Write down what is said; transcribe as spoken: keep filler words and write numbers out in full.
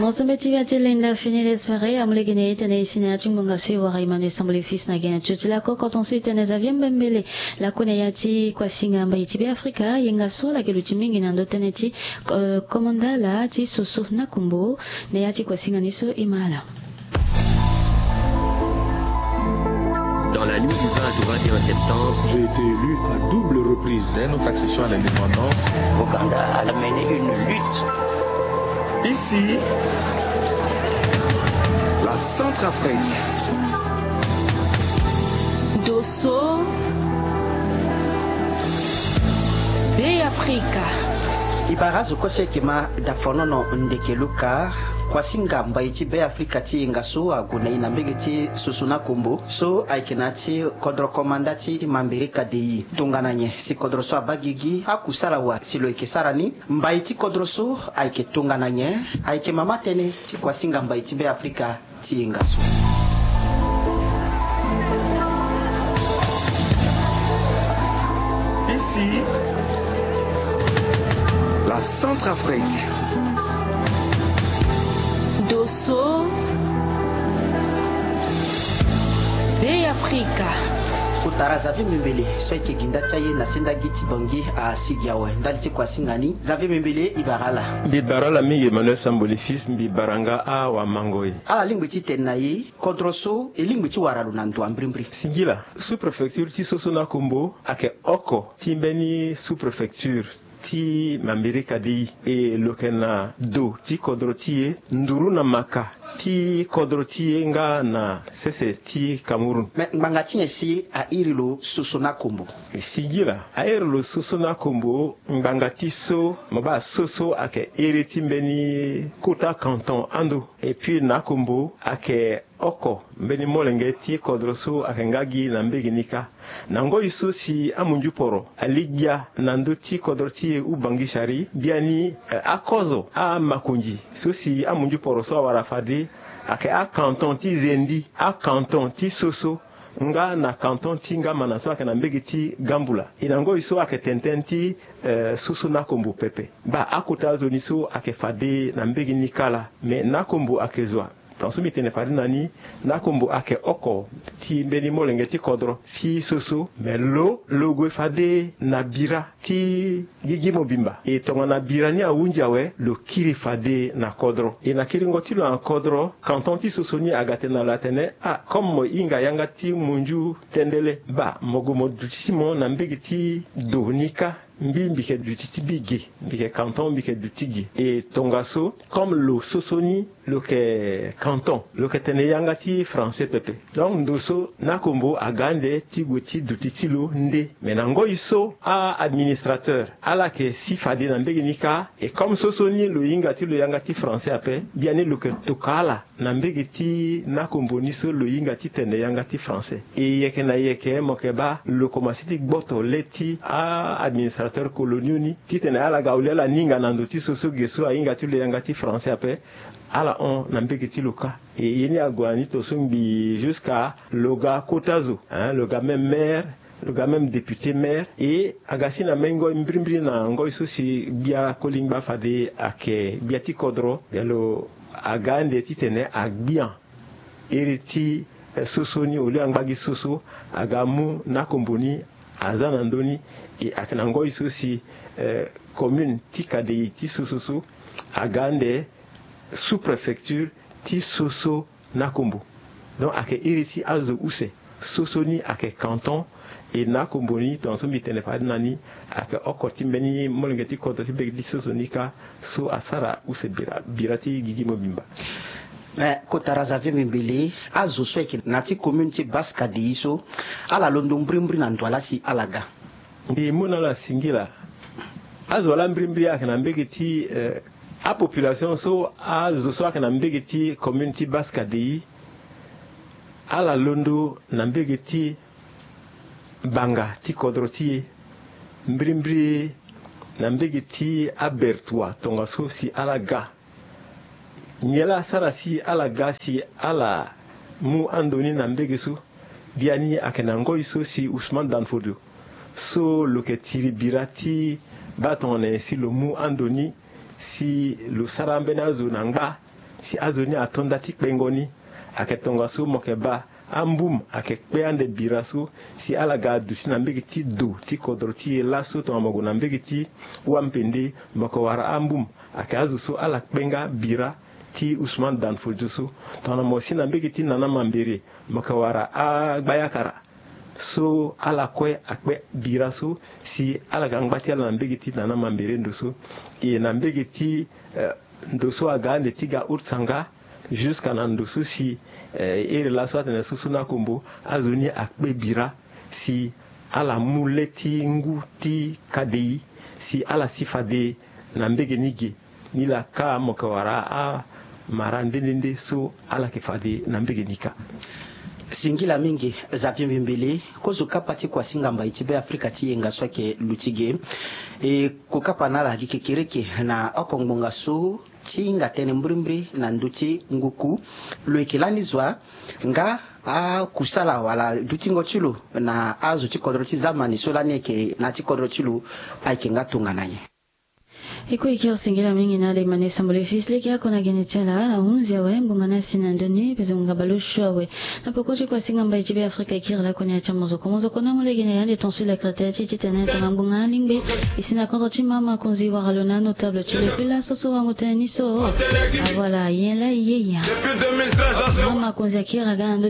Ensemble ti bia ti lenda fini lespere amolege na ye tene e si na ya ti ngbonga so e wara Emmanuel Sambole fils na gene tio ti lako koton so e tene Xavier Mbembele. Lako na ya ti kuasinga mbai ti Beafrika yenga so ala yeke luti mingi na ndo tënë ti komandala ti soso na kombo. Na ya ti kuasinga ni so e ma ala. Dans la nuit du vingt au vingt et un septembre, j'ai été élu à double reprise. Dès notre accession à l'indépendance, Ouganda a mené une lutte. Ici, la Centrafrique. Dosso, Beafrika. E bara azo kue so e yeke ma dafonono ndeke luka. Kuasinga mbai ti Beafrika ti yenga so ague na e na mbege ti soso na kombo so ayeke na ya ti kodro komanda ti Mambirika de i. Tongana nyen si kodro so abaa gigi? Akusala wa si lo yeke sara ni? Mbai ti kodro so ayeke tongana nyen? Ayeke mama tënë ti kuasinga mbai ti Beafrika ti yenga so. Ici, la Centrafrique. Dosso, Beafrika. Kotara Xavier Mbembele so ayeke gi nda ti aye na senda gi ti Bangui asigi awe ndali ti kuasinga ni. Xavier Mbembele, e bara ala. Mbi bara ala mingi Emmanuel Sambole fils, mbi bara nga awamangoi. Ala lingbi ti tene na e kodro so e lingbi ti wara lo na ndo ambirimbiri. Singila, sous-préfecture ti soso na kombo ayeke oko ti mbeni sous-préfecture ti Mambirika de i. E lo yeke na do ti kodro ti e nduru na maka ti kodro ti e nga na sese ti Cameroun. Me ngbanga ti nyen si a iri lo soso na kombo? E singila, a iri lo soso na kombo ngbanga ti so mo baa soso ayeke iri ti mbeni kota canton ando. Et puis na kombo ayeke oko mbeni molenge ti kodro so ayeke nga gi na mbege ni kâ. Na ngoi so si amunzu poro ali gbia na ndö ti kodro ti e Ubangui Chari, biani akozo amakonzi so si amunzu poro so awara fade ayeke acanton ti Zendi, acanton ti Soso, nga na canton ti Ngamana so ayeke na mbege ti Gambula. E na ngoi so ayeke tene tënë ti soso na kombo pepe. Baa akota azo ni so ayeke fade na mbege ni kâ laa. Me na kombo ayeke zo wa. Tongaso mbi tene fade na ni, na kombo ayeke oko ti mbeni molenge ti kodro ti soso. Me lo lo gue fade na bira ti gigi mobimba. E tongana bira ni ahunzi awe, lo kiri fade na kodro. E na kiringo ti lo na kodro, canton ti soso ni aga tene na lo atene, ah, comme mo hinga yanga ti munzu tendele, baa mo gue mo duti ti mo na mbege ti do ni kâ. Mbi mbi yeke duti ti mbi ge, mbi yeke canton, mbi yeke duti ge. E tongaso comme lo soso ni lo yeke canton, lo yeke tene yanga ti français pepe. Donc ndo so na kombo aga ande ti gue ti duti ti lo nde. Me na ngoi so a-administrateur ala yeke si fade na mbege ni kâ. E comme soso ni lo hinga ti lo yanga ti français ape, biani lo yeke toka ala na mbege ti na kombo ni so lo hinga ti tene yanga ti français. E yeke na yeke mo yeke baa lo komanse ti gboto le ti a-administrateur coloniaux ni titene ala ga au lieu ala ni hinga na ndo ti soso ge so ahinga ti lo yanga ti français ape, ala hon na mbege ti lo kâ. E ye ni ague na ni tongaso ngbii jusqu'à lo ga kota zo, hein, lo ga même maire, lo ga même député maire. E aga si na mbeni ngoi mbirimbiri na ngoi so si gbia kolingba fade ayeke gbia ti kodro, bia lo aga ande titene agbia iri ti soso ni au lieu angba gi soso, aga mu na kombo ni aza na ndö ni. E ayeke na ngoi so si commune ti Kadei ti soso so aga ande sous-préfecture ti soso na kombo. Donc ayeke iri ti azo use. Soso ni ayeke canton. E na kombo ni tongaso mbi tene fade na ni, ayeke oko ti mbeni molenge ti kodro ti mbege ti soso ni kâ so asara use bira, bira ti gigi mobimba. Me kotara Xavier Mbembele, azo so ayeke na ya ti commune ti Basse Kadei so, ala londo mbirimbiri na ndo wa laa si ala ga? Mbi mu na ala singila. Azo wa laa mbirimbiri ayeke na mbege ti, eh, apopulation so, azo so ayeke na mbege ti commune ti Basse Kadei, ala londo na mbege ti banga ti kodro ti e, mbirimbiri na mbege ti abertwa tongaso si ala ga. Nyen laa asara si ala ga si ala mu ando ni na mbege so? Biani ayeke na ngoi so si Ousmane Dan Fodio so lo yeke tiri bira ti baa tongana nyen si lo mu ando ni si lo sara ambeni azo na ngba Ti azo ni ato nda ti kpengo ni. Ayeke tongaso mo yeke baa ambum ayeke kpe ande bira so, si ala ga aduti na mbege ti do ti kodro ti e laso tongana mo gue na mbege ti wampende, mo yeke wara ambum. Ayeke azo so ala kpe nga bira ti Ousmane Danfodio so. Tongana mo si na mbege ti Nana Mambere, mo yeke wara agbayakara so ala kue akpe bira so, si ala ga ngba ti ala na mbege ti Nana Mambere ndo so. E na mbege ti, eh, ndo so aga ande ti ga Utsanga, jusqu'à na ndo so si, eh, ere laso atene so so na kombo, azo ni akpe bira si ala mu le ti ngu ti kadei, si ala si fade na mbege ni ge. Ni laa ka mo yeke wara amara nde nde nde so ala yeke fade na mbege ni ka. Singila mingi Zapimbi Mbili, kozo kapa ti kuasinga mbai ti Be Afrika ti yenga so ayeke luti ge. E, ko kapa na ala gi kekereke na oko ngbonga so ti hinga tënë mbirimbiri na ndö ti nguku. Lo yeke lani zo wa nga akusala wala dutingo ti lo na azo ti kodro ti zamani so lani ayeke na ya ti kodro ti lo ayeke nga tongana nyen? E kue e kiri singila mingi na ala e ma na e sambela e fils lege oko na gene ti ala ahunzi awe ngbonga ni asi na ndö ni pezo ngbonga baleosio awe. Na poko ti kuasinga mbai ti Be Afrika e kiri lakue na ya ti amozoko mozoko na molege na ya ande ton so e lakiri tere ti e titene tongana ngbonga alingbi e si na kodro ti mama konzi wara lo na anotable ti lo e kue laso so wango tënë ni so. Ah voilà, yen laa e ye ya. Mama konzi akiri aga na ndö